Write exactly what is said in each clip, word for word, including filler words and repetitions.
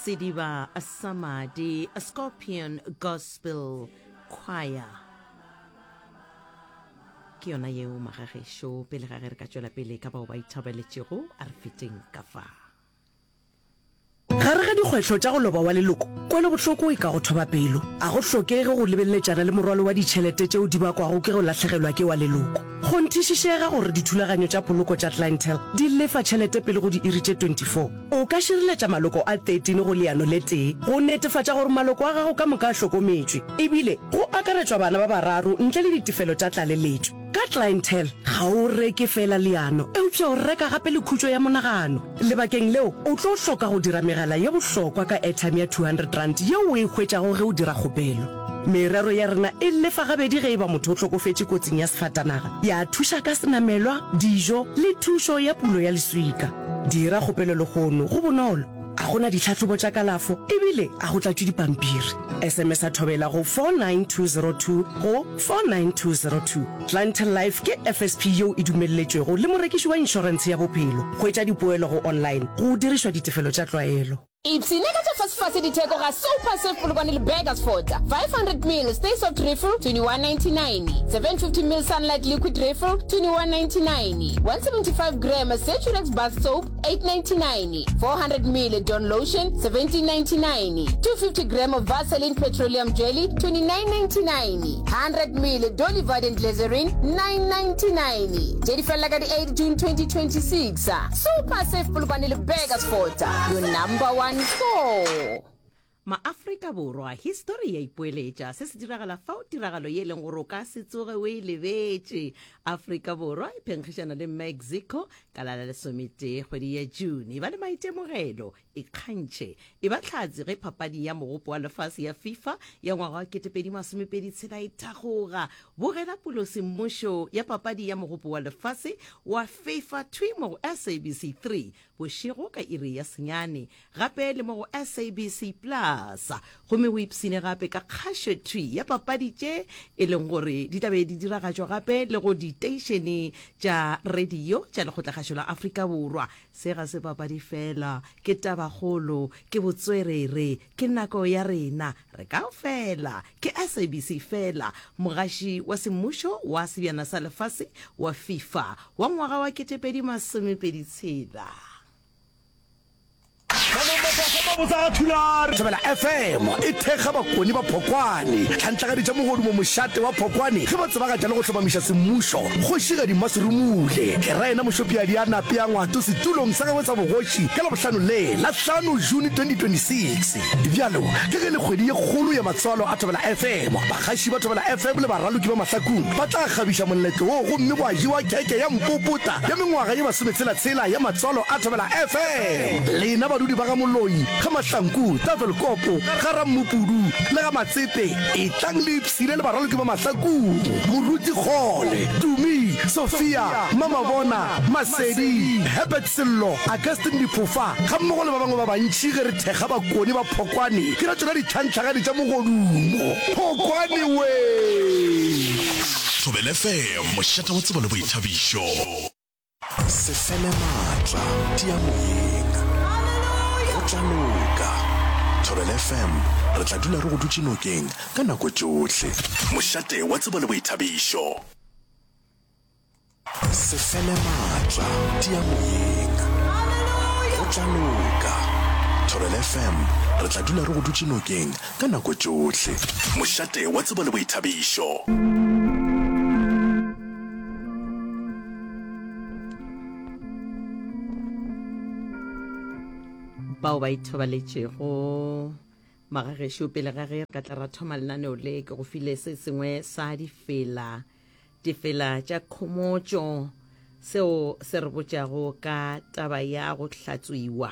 Sediba sa Madi, Scorpion Gospel Choir. Ke yona yeo magagešo, pele ga ge re ka tšwela pele ka bao ba ithabeletšego, a re feteng ka fa. Gare ga dikgwetlho tša go loba wa leloko, kwelobohloko e ka go thoba pelo. A go hlokege go lebeleletšana le morwalo wa ditšhelete tšeo di bakwago ke go lahlegelwa ke wa leloko. Kgonthišišega gore dithulaganyo tša poloko tša Clientele di lefa tšhelete pele go diiri tše twenty four. O ka šireletša maloko a thirteen go leano le tee go netefatša gore maloko a gago ka moka a hlokometšwe, ebile go akaretšwa bana ba bararo ntle le ditefelo tša tlaleletšo. Ka Clientele, ga o reke feela leano, eupša o reka gape le khutšo ya monagano. Lebakeng leo, o tlo hloka go dira megala ye bohlokwa ka airtime ya two hundred rand yeo o e hwetšago ge o dira kgopelo. Merero ya rena e lefa gabedi ge e ba motho o hlokofetše kotsing ya sefatanaga, ya thuša ka senamelwa, dijo le thušo ya pulo ya leswika. Dira kgopelo lehono, go bonolo, a go na ditlhahlobo tša kalafo ebile a go tlatšwe dipampiri. S M S a thobela go four nine two zero two go four nine two zero two. Clientele Life ke F S P yeo e dumelletšwego le morekiši wa inšorentshe ya bophelo. Hwetša dipoelo go online go dirišwa ditefelo tša tlwaelo. Ipshine ka tša fasefase ditheko ga Super Save Polokwane le Burgersfort, five hundred mil Stay Soft Refill twenty one ninety nine, seven fifty mil Sunlight Liquid Refill twenty one ninety nine, one seventy five gram Saturex Bath Soap eight ninety nine, four hundred mil Dawn Lotion seventeen ninety nine, two fifty gram Vaseline Petroleum Jelly twenty nine ninety nine, hundred mil Dolly Varden Glycerin nine ninety nine. Tše di felela ka di eight June twenty twenty six. Super Save Polokwane le Burgersfort, your number one store. Maafrika Borwa, histori ya ipoeletša. Se se diragala fao tiragalo ye e leng gore o ka se tsoge o e lebetše. Afrika Borwa e phenkgišana le Mexico ka la la lesometee kgwedi ya June. E ba le maitemogelo, ikgantšhe, e ba hlatse ge papadi ya Mogopo wa Lefase ya FIFA ya ngwaga wa ketepedi masomepedi tshela e thakgoga. Bogela pulosemmušo ya papadi ya Mogopo wa Lefase wa FIFA thwi mo go S A B C three bošego ka iri ya senyane, gape le mo go S A B C Plus. Gomme o ipshine gape ka kgašo thwi ya papadi tše e leng gore di tla be di diragatšwa gape le go diteišene tša radio tša Lekgotlakgašo la Afrika Borwa. Se ga se papadi fela, ke tabakgolo, ke botswerere, ke nako ya rena, re kaofela. Ke S A B C fela, mogaši wa semmušo wa Sebjana sa Lefase wa FIFA wa ngwaga wa ketepedi masomepedi tshela. Thobela F M e thekga Bakoni ba Phokwane, tlhantlagadi tša mogodumo mošate wa Phokwane ge ba tsebagatša le go hlomamiša semmušo Kgošigadi Mmaserumule ke ra yena Mošopiadi a nape a Ngwato setulong sa gagwe sa bogoši ka Labohlano le la hlano June twenty twenty six. Bjalo ka ge le kgwedi ye kgolo ya matswalo a Thobela F M, bagaši ba Thobela F M le baraloki ba mahlakung ba tla kgabiša moletlo wo gomme gwa jewa kheke ya mpopota ya mengwaga ye masometshela-tshela ya matswalo a Thobela F M. Lena badudi ba ga Moloi, ga Mahlanku, Tafelkopo, ga Rammupudu le ga Matsepe, etlang le ipshine le baraloki ba mahlakung, Moruti Kgole, Tumi, Sophia, Mamabona, Masedi, Herbert Sello, Augustine Diphofa, gammogo le ba bangwe ba bantši ge re thekga Bakone ba Phokwane ke ra tšona ditlhantlhagadi tša mogodumo. Phokwane wee! Thobela F M, mošate wa tsebo le boithabišo. Se fele maatla, tia moyeng. Go tla loka. Thobela F M, re tla dula re go dutše nokeng ka nako tšohle. Mošate wa tsebo le boithabišo. Se fele maatla, tia moyeng. Go tla loka. Thobela F M, re tla dula re go dutše nokeng ka nako tšohle. Mošate wa tsebo le boithabišo. Bao ba ithobaletšego magagešo, pele ga ge re ka tla ra thoma lenaneo le, ke go file se sengwe sa difela, difela tša khomotšo, seo se re botšago ka taba ya go hlatswiwa,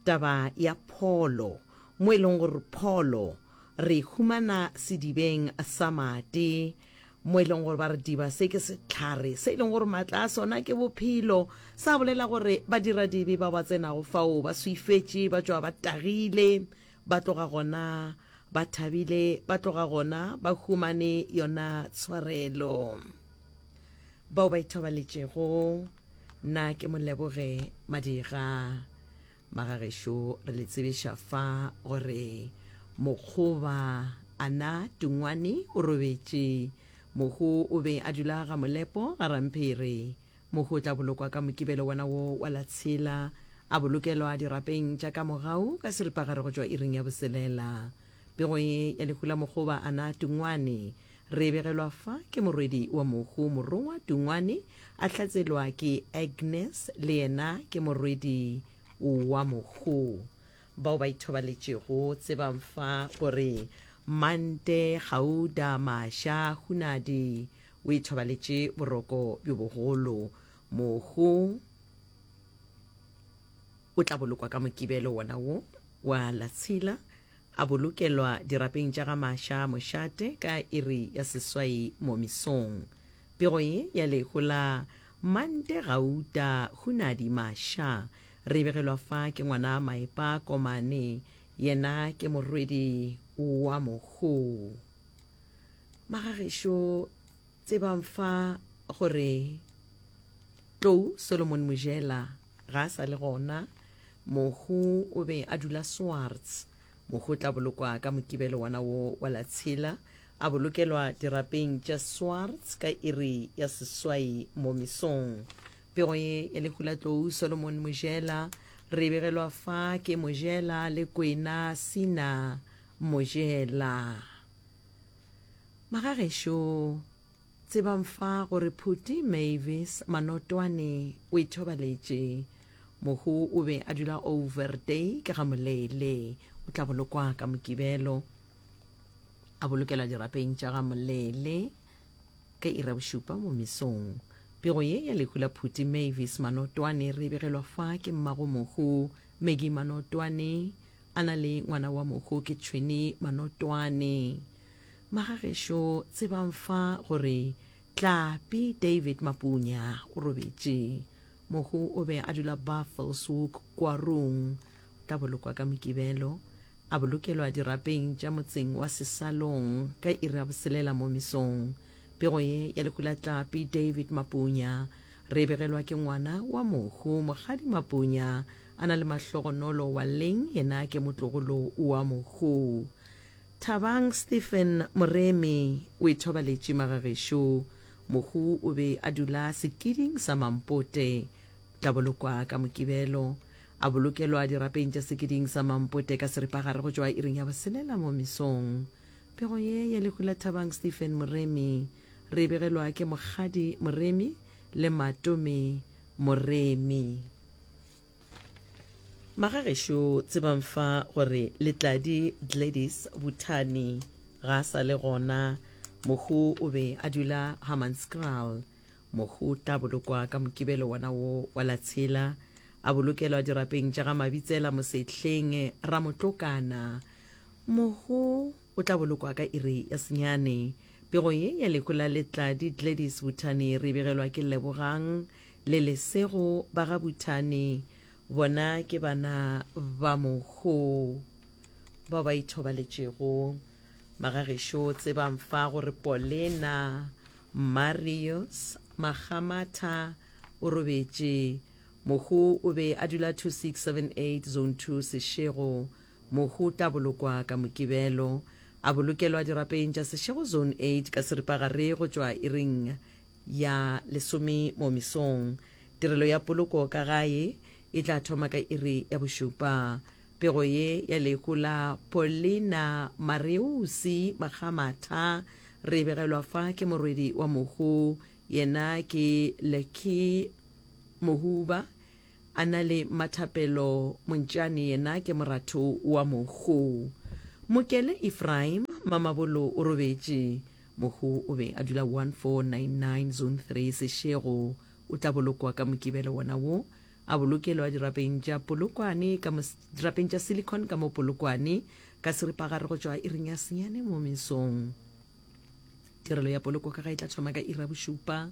taba ya pholo, mo e leng gore pholo re humana sedibeng sa madi, mo e leng gore ba re diba se ke sehlare se e leng gore matla a sona ke bophelo. Sa bolela gore badiradibe ba ba tsenago fao ba swifetše, ba tšwa ba tagile, ba tloga gona ba thabile, ba tloga gona ba humane yona tshwarelo. Bao ba ithobaletšego, nna ke Moleboge Madira. Magagešo re le tsebiša fa gore Mokgoba Ana Tungwane o robetše. Mohu o be a dula ga Molepo ga Ramphere. Mohu o tla bolokwa ka Mokibelo wona wo wa la tshela, a bolokelwa dirapeng tša ka mogau ka seripagare go tšwa iring ya boselela. Pego ye ya lehu la Mokgoba Ana Tungwane re e begelwa fa ke morwedi wa mohu Morongwa Tungwane a hlatselwa ke Agnes le yena ke morwedi wa mohu. Bao ba ithobaletšego tsebang fa gore Mante Gauda Masha Hunadi o ithobaletše boroko bjo bogolo. Mohu o tla bolokwa ka Mokibelo wona wo wa la tshela, a bolokelwa dirapeng tša ga Masha mošate ka iri ya seswai mo mesong. Pego ye ya lehu la Mante Gauta Hunadi Masha re e begelwa fa ke ngwana Maepa Komane, yena ke morwedi wa mohu. Magagešo tsebang fa gore Tlou Solomon Mojela ga a sa le gona. Mohu o be a dula Swartz. Mohu o tla bolokwa ka Mokibelo wona wo wa la tshela, a bolokelwa dirapeng tša Swartz ka iri ya seswai mo mesong. Pego ye ya lehu la Tlou Solomon Mojela re e begelwa fa ke Mojela le Kwena Sina Mojela. Magagešo tsebang fa gore Phuti Mavis Manotwane o ithobaletše. Mohu o be a dula Overday ka ga Moleele. O tla bolokwa ka Mokibelo, a bolokelwa dirapeng tša ga Moleele ka iri ya bošupa mo mesong. Pego ye ya lehu la Phuti Mavis Manotwane re e begelwa fa ke mmago mohu Maggie Manotwane a na le ngwana wa mohu ke Tšhwene Manotwane. Magagešo tsebang fa gore Tlapi David Mapunya o robetše. Mohu o be a dula Buffelshoek Kwarung. O tla bolokwa ka Mokibelo, a bolokelwa dirapeng tša motseng wa Sesalong ka iri ya boselela mo mesong. Pego ye ya lehu la Tlapi David Mapunya re e begelwa ke ngwana wa mohu Mokgadi Mapunya a na le Mahlogonolo wa Leng, yena ke motlogolo wa mohu. Thabang Stephen Moremi o ithobaletše magagešo. Mohu o be a dula sekiding sa Mampote. O tla bolokwa ka Mokibelo, a bolokelwa dirapeng tša sekiding sa Mampote ka seripagare go tšwa iring ya boselela mo mesong. Pego ye ya lehu la Thabang Stephen Moremi re e begelwa ke Mokgadi Moremi le Matome Moremi. Magagešo tsebang fa gore Letladi Gladys Buthani ga a sa le gona. Mohu o be a dula Hammanskraal. Mohu o tla bolokwa ka Mokibelo wona wo wa la tshela, a bolokelwa dirapeng tša ga Mabitsela Mosehleng Ramotlokana. Mohu o tla bolokwa ka iri ya senyane. Pego ye ya lehu la Letladi Gladys Buthani re e begelwa ke Lebogang le Lesego ba ga Buthani. Bona ke bana ba mohu bao ba ithobaletšego. Magagešo tsebang fa gore Polena Marius Makgamatha o robetše. Mohu o be a dula two six seven eight Zone two Seshego. Mohu o tla bolokwa ka Mokibelo, a bolokelwa dirapeng tša Seshego Zone eight ka seripagare go tšwa iring ya lesome mo mesong. Tirelo ya poloko ka gae e tla thoma ka iri ya bošupa. Pego ye ya lehu la Paulina Mareusi Makgamatha re e begelwa fa ke morwedi wa mohu, yena ke Lucky Mohuba, a na le Mmathapelo Montšane, yena ke moratho wa mohu. Mokele Ephraim Mamabolo o robetše. Mohu o be a dula one four nine nine Zone three Seshego. O tla bolokwa ka Mokibelo wona wo, a bolokelwa dirapeng tša Polokwane ka mo dirapeng tša Silicon ka mo Polokwane ka seripagare go tšwa iring ya senyane mo mesong. Tirelo ya poloko ka ga e tla thoma ka iri ya bošupa.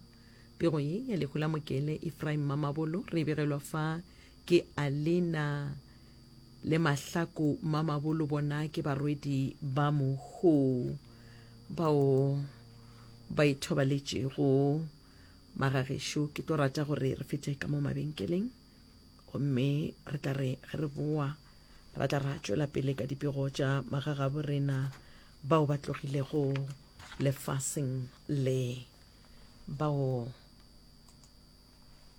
Pego ye ya lehu la Mokele Ephraim Mamabolo re e begelwa fa ke Alina le Mahlaku Mamabolo, bona ke barwedi ba mohu bao ba ithobaletšego. Magagešo, ke tlo rata gore re fete ka mo mabenkeleng Gomme re tla re ge re boa ra tla ra tšwela pele ka dipego tša magagabo rena bao ba tlogilego lefaseng le bao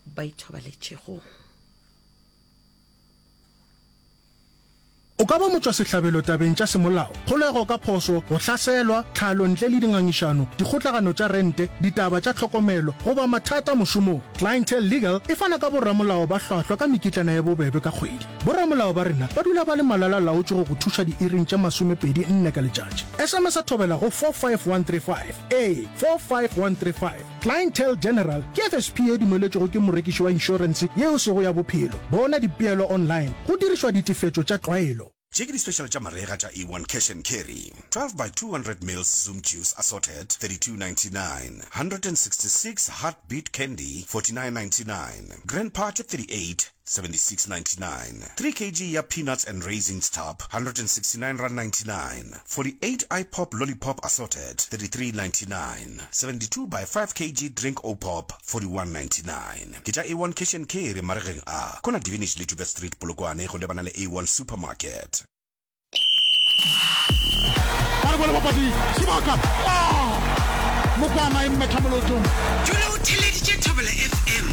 ba ithobaletšego. O ka ba motšwasehlabelo tabeng tša semolao, kgolego ka phošo, go hlaselwa, tlhalo ntle le dingangišano, dikgotlagano tša rente, ditaba tša tlhokomelo, goba mathata mošomong. Clientele Legal e fana ka boramolao ba hlwahlwa ka mekitlana ye bobebe ka kgwedi. Boramolao ba rena ba dula ba le malala-laotšwe go go thuša diiring tše masomepedi nne ka letšatši. S M S Thobela go four five one three five. Ee, four five one three five. Clientele General ke F S P ye dumeletšwego ke morekiši wa inšorense ye e sego ya bophelo. Bona dipeelo online go dirišwa ditefetšo tša tlwaelo. Tše ke di-special tša marega tša A one Cash and Carry, twelve by two hundred mils Zoom Juice Assorted, thirty-two ninety-nine, hundred and sixty-six Heartbeat Candy, forty-nine ninety-nine, Grandpa tše thirty-eight, seventy-six ninety-nine, three kg ya Peanuts and Raisins Tub, hundred and sixty-nine rand ninety-nine, forty-eight iPop Lollipop Assorted, thirty-three ninety-nine, seventy-two by five kg Drink O-Pop, forty-one ninety-nine. Ke tša A one Cash and Carry maregeng a, Kona Divinage le Joubert Street, Polokwane, go lebana le A one Supermarket. Ba re bole bapadi sebaka. Ah! Mokwana e mmetha molotong. Dula o theeleditše Thobela F M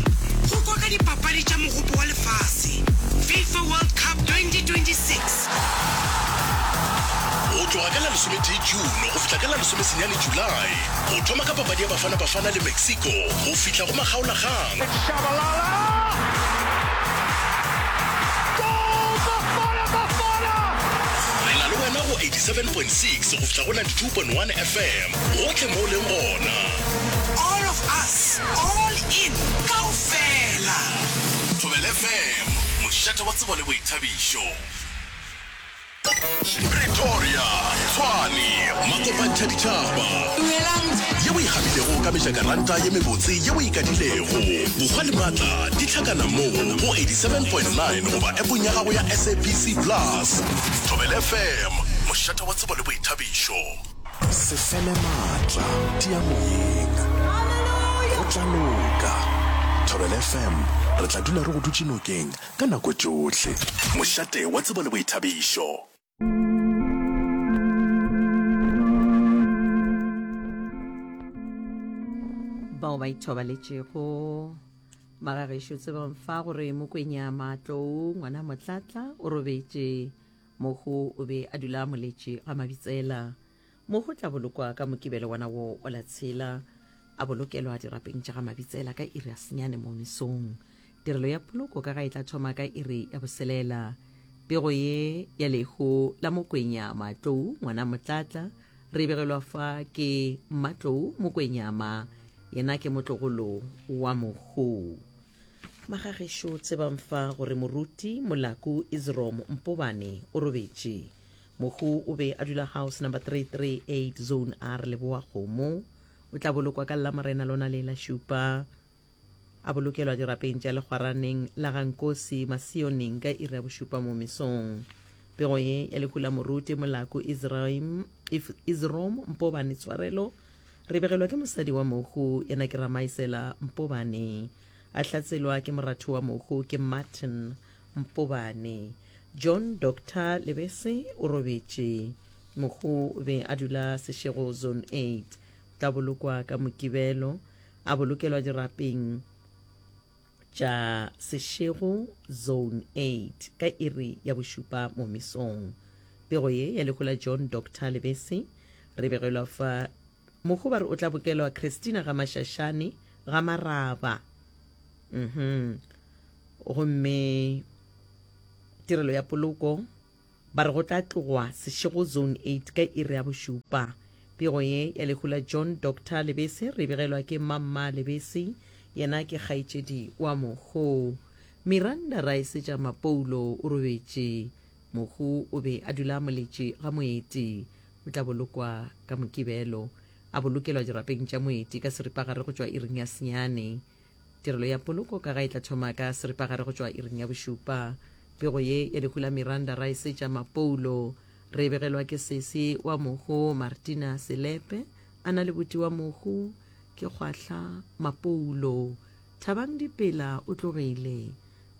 go kwa ka dipapadi tša Mogopo wa Lefase, FIFA World Cup twenty twenty six Go tloga ka la lesometee June go fihla ka la lesomesenyane July, go thoma ka papadi ya Bafana Bafana le Mexico go fihla go makgaolakgang. Shabalala! Goal! Bafana Bafana! Re na le wena go eighty-seven point six go fihla go ninety-two point one F M, gohle mo o leng gona. All of us, all in, kaofela. Thobela F M, mošate wa tsebo le boithabišo. Pretoria, Tshwane, makopantšha ditšhaba. Ye o e gabilego ka mejakaranta ye mebotse ye o e kadilego. Bokgwa le maatla di hlakana mo go eighty-seven point nine goba appong ya gago ya S A B C Plus. Thobela F M, mošate wa tsebo le boithabišo. Se fele maatla, tia moyeng. Go tla loka. Thobela F M, re tla dula re go dutše nokeng ka nako tšohle. Mošate wa tsebo le boithabišo. Bao ba ithobaletšego magagešo, tsebang fa gore Mokwenya Matlou ngwana Motlatla o robetše. Mohu o be a dula Moletše ga Mabitsela. Mohu tla bolokwa ka Mokibelo wona wo o la tshela, a bolokelwa dirapeng tša ga Mabitsela ka iri ya senyane mo mesong. Tirelo ya poloko ka ga e tla thoma ka iri ya boselela. Pego ye ya lehu la Mokwenya Matlou ngwana Motlatla re begelwa fa ke Matlou Mokwenyama, yena ke motlogolo wa mohu. Magagešo, tsebang fa gore moruti Molaku Isrom Mpobane o robetše. Mohu o be a dula house number three three eight zone R Leboa Kgomo. O tla bolokwa ka Lamorena lona le la šupa, a bolokelwa dirapeng tša Lekgwaraneng la Gankosi Masioneng ka iri ya bošupa mo mesong. Pego ye ya lehu la moruti Molaku Israim, Isrom Mpobane tshwarelo re begelwa ke mosadi wa mohu, yena ke Ramaisela Mpobane, a hlatselwa ke moratho wa mohu ke Martin Mpobane. John Doctor Lebese o robetše. Mohu o be a dula Seshego zone eight. O tla bolokwa ka Mokibelo, a bolokelwa dirapeng tša Seshego zone eight ka iri ya bošupa mo mesong. Pego ye ya lehu la John Doctor Lebese re begelwa fa mohu ba re o tla bokelwa Christina ga Mashashane ga Maraba. Mhm. Gomme tirelo ya poloko ba re go tla tlogwa Seshego zone eight ka iri ya bošupa. Pego ye ya lehu la John Doctor Lebese re begelwa ke Mamma Lebese, yena ke kgaetšedi wa mohu. Miranda Raesetša Mapoulo o robetše. Mohu o be a dula Moletše ga Moeti. O tla bolokwa ka Mokibelo, a bolokelwa dirapeng tša Moeti ka seripagare go tšwa iring ya senyane. Tirelo ya poloko ka ga e tla thoma ka seripagare go tšwa iring ya bošupa. Pego ye ya lehu la Miranda Raesetša Mapoulo re begelwa ke sesi wa mohu Martina Selepe, a na le buti wa mohu ke Kgwahla Mapoulo. Thabang Dipela o tlogile.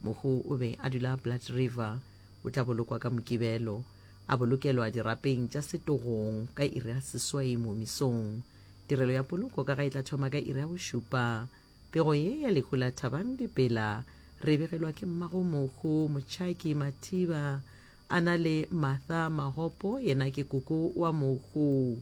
Mohu o be a dula Blood River. O tla bolokwa ka Mokibelo, a bolokelwa dirapeng tša setogong ka iri ya seswai mo mesong. Tirelo ya poloko ka ga e tla thoma ka iri ya bošupa. Pego ye ya lehu la Thabang Dipela re e begelwa ke mmago mohu Motšhaki Mathiba a na le Martha Mahopo yena ke koko wa mohu.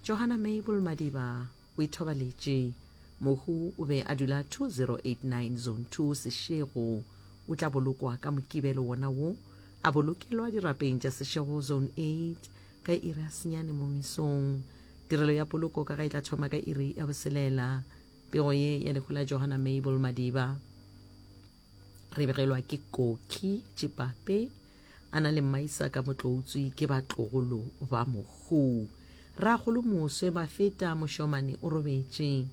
Johanna Mabel Madiba o ithobaletše. Mohu o be a dula two zero eight nine Zone two Seshego. O tla bolokwa ka Mokibelo wona wo, a bolokelwa dirapeng tša Seshego Zone eight ka iri ya senyane mo mesong. Tirelo ya poloko ka ga e tla thoma ka iri ya boselela. Pego ye ya lehu la Johanna Mabel Madiba re begelwa ke Koki Tšipape a na le Mmaisaka Motloutswi ke batlogolo ba mohu. Rakgolo Moswe Mafeta Mošomane o robetše.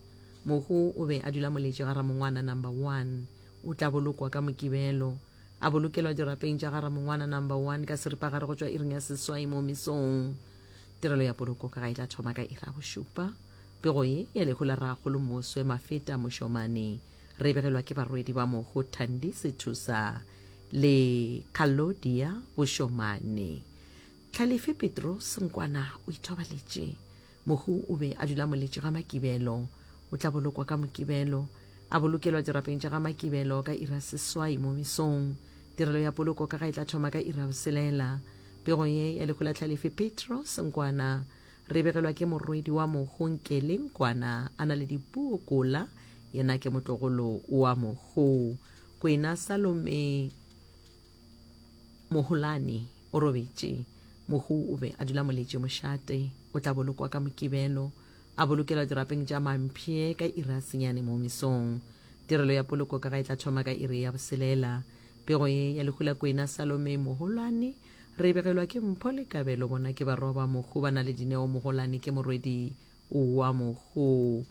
Mohu o be a dula Moletše ga Ramongwana Number One. O tla bolokwa ka Mokibelo. A bolokelwa dirapeng tša ga Ramongwana Number One ka seripagare go tšwa iring ya seswai mo mesong. Tirelo ya poloko ka ga e tla thoma ka iri ya bošupa. Pego ye ya lehu la Rakgolo Moswe Mafeta Mošomane re e begelwa ke barwedi ba mohu Thandi Sethusa le Kalodia Bošomane. Tlhalefi Petros Nkwana o ithobaletše. Mohu o be a dula Moletše ga Makibelo. O tla bolokwa ka Mokibelo. A bolokelwa dirapeng tša ga Makibelo ka iri ya seswai mo mesong. Tirelo ya poloko ka ga e tla thoma ka iri ya boselela. Pego ye ya lehu la Tlhalefi Petros Nkwana re e begelwa ke morwedi wa mohu Nkele Nkwana a na le Dipuo Kola, yena ke motlogolo wa mohu. Kwena Salome Moholane o robetše. Mohu o be a dula Moletše mošate. O tla bolokwa ka Mokibelo. A bolokelwa dirapeng tša Mampye ka iri ya senyane mo mesong. Tirelo ya poloko ka ga e tla thoma ka iri ya boselela. Pego ye ya lehu la Kwena Salome Moholane re e begelwa ke Mpho le Kabelo, bona ke barwa ba mohu ba na le Dineo Moholane ke morwedi wa mohu.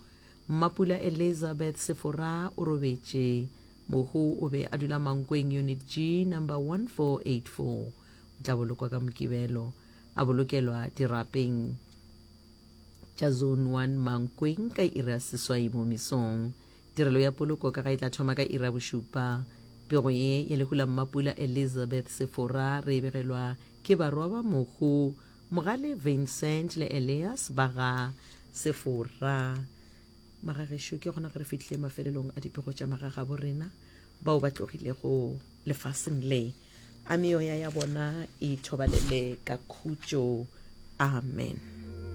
Mmapula Elizabeth Sefora o robetše. Mohu o be a dula Mankweng Unit G number one four eight four. O tla bolokwa ka Mokibelo. A bolokelwa dirapeng tša Zone one Mankweng ka iri ya seswai mo mesong. Tirelo ya poloko ka ga e tla thoma ka iri ya bošupa. Pego ye ya lehu la Mmapula Elizabeth Sefora re e begelwa ke barwa ba mohu Mogale Vincent le Elias ba ga Sefora. Magagešo, ke gona ge re fihlile mafelelong a dipego tša magagabo rena bao ba tlogilego lefaseng le. A meoya ya bona e ithobalele ka khutšo. Amen.